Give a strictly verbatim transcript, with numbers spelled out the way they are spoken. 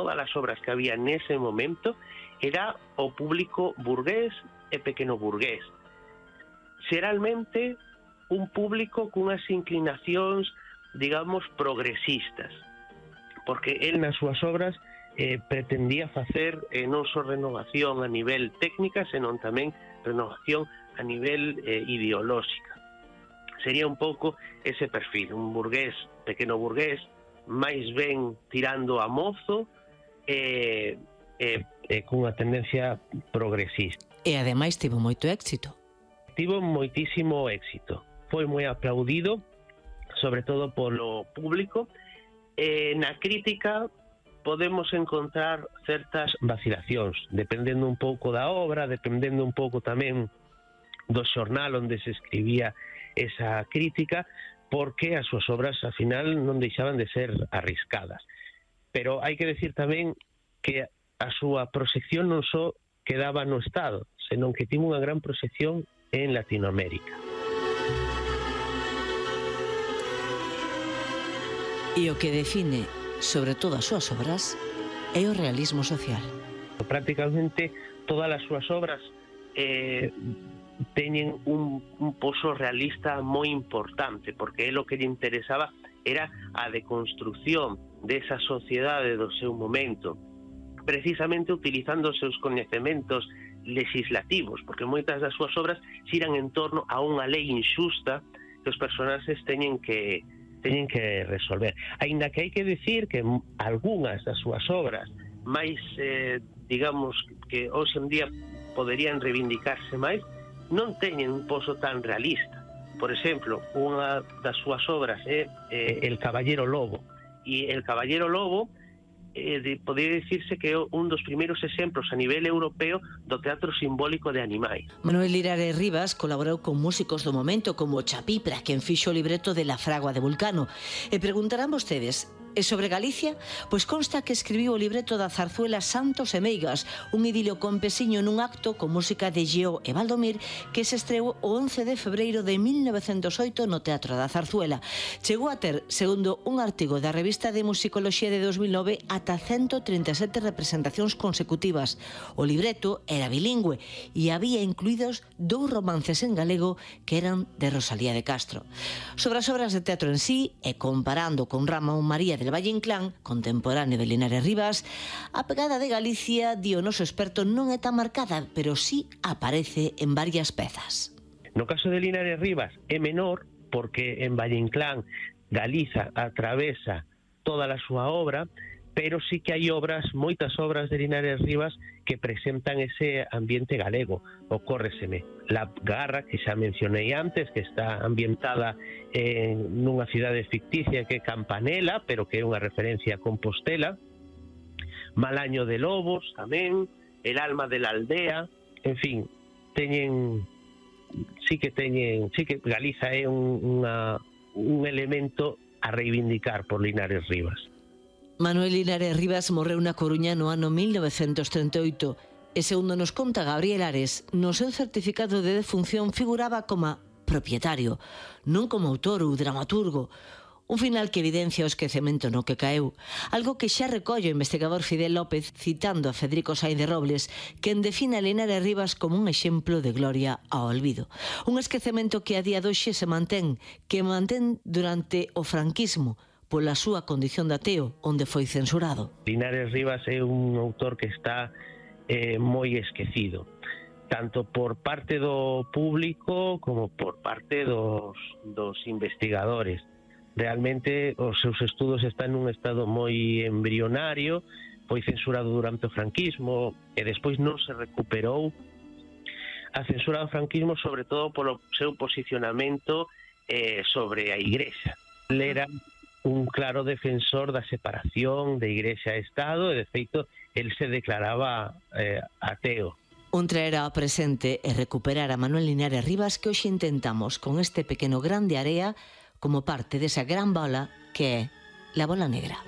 todas as obras que había nese momento era o público burgués e pequeno burgués. Xeralmente un público cunhas inclinacións, digamos, progresistas, porque el nas súas obras eh, pretendía facer eh, non só renovación a nivel técnica, senón tamén renovación a nivel eh, ideolóxica. Sería un pouco ese perfil, un burgués, pequeno burgués, máis ben tirando a mozo e eh, eh, cunha tendencia progresista. E ademais tivo moito éxito. Tivo moitísimo éxito. Foi moi aplaudido, sobre todo polo público. E na crítica podemos encontrar certas vacilacións, dependendo un pouco da obra, dependendo un pouco tamén do xornal onde se escribía esa crítica, porque as súas obras, ao final, non deixaban de ser arriscadas. Pero hai que decir tamén que a súa proxección non só quedaba no Estado, senón que tivo unha gran proxección en Latinoamérica. E o que define, sobre todo as súas obras, é o realismo social. Prácticamente todas as súas obras eh, teñen un, un pozo realista moi importante, porque é o que lle interesaba era a deconstrucción desa sociedade do seu momento, precisamente utilizando os seus coñecementos legislativos, porque moitas das súas obras xiran en torno a unha lei injusta que os personaxes teñen que teñen que resolver. Aínda que hai que decir que algunhas das súas obras máis, eh, digamos, que hoxe en día poderían reivindicarse máis, non teñen un pozo tan realista. Por exemplo, unha das súas obras é eh, El Caballero Lobo, e El Caballero Lobo eh, de, podría dicirse que é un dos primeiros exemplos a nivel europeo do teatro simbólico de animais. Manuel Linares Rivas colaborou con músicos do momento como Chapipra, quen fixo o libreto de La Fragua de Vulcano. E preguntarán vostedes, e sobre Galicia? Pois consta que escribiu o libreto da zarzuela Santos e Meigas, un idilio campesiño nun acto con música de Geo e Valdomir que se estreou o once de febreiro de mil novecentos oito no Teatro da Zarzuela. Chegou a ter, segundo un artigo da revista de Musicoloxía de dos mil nove, ata ciento trinta e sete representacións consecutivas. O libreto era bilingüe e había incluídos dous romances en galego que eran de Rosalía de Castro. Sobre as obras de teatro en sí, e comparando con Ramón María del Valle Inclán, contemporáneo de Linares Rivas, a pegada de Galicia, di o noso experto, non é tan marcada, pero sí aparece en varias pezas. No caso de Linares Rivas é menor, porque en Valle Inclán Galiza atravesa toda a súa obra, pero sí que hai obras, moitas obras de Linares Rivas que presentan ese ambiente galego. Ocórreseme La Garra, que xa mencionei antes, que está ambientada en nunha cidade ficticia que é Campanela, pero que é unha referencia a Compostela. Malaño de Lobos tamén, El alma de la aldea, en fin, teñen sí que teñen, sí que Galiza é un, unha, un elemento a reivindicar por Linares Rivas. Manuel Linares Rivas morreu na Coruña no ano mil novecentos trinta e oito e, segundo nos conta Gabriel Ares, no seu certificado de defunción figuraba como propietario, non como autor ou dramaturgo. Un final que evidencia o esquecemento no que caeu, algo que xa recolle o investigador Fidel López citando a Federico Sainz de Robles, quen define a Linares Rivas como un exemplo de gloria ao olvido. Un esquecemento que a día de hoxe se mantén, que mantén durante o franquismo, pola súa condición de ateo, onde foi censurado. Linares Rivas é un autor que está eh, moi esquecido, tanto por parte do público como por parte dos, dos investigadores. Realmente os seus estudos están nun estado moi embrionario, foi censurado durante o franquismo e despois non se recuperou a censura do franquismo, sobre todo polo seu posicionamento eh, sobre a Igrexa. Ele era un claro defensor da separación de Igrexa e Estado e, de feito, el se declaraba eh, ateo. Un traer ao presente e recuperar a Manuel Linares Rivas que hoxe intentamos con este pequeno grande area como parte desa gran bola que é la bola negra.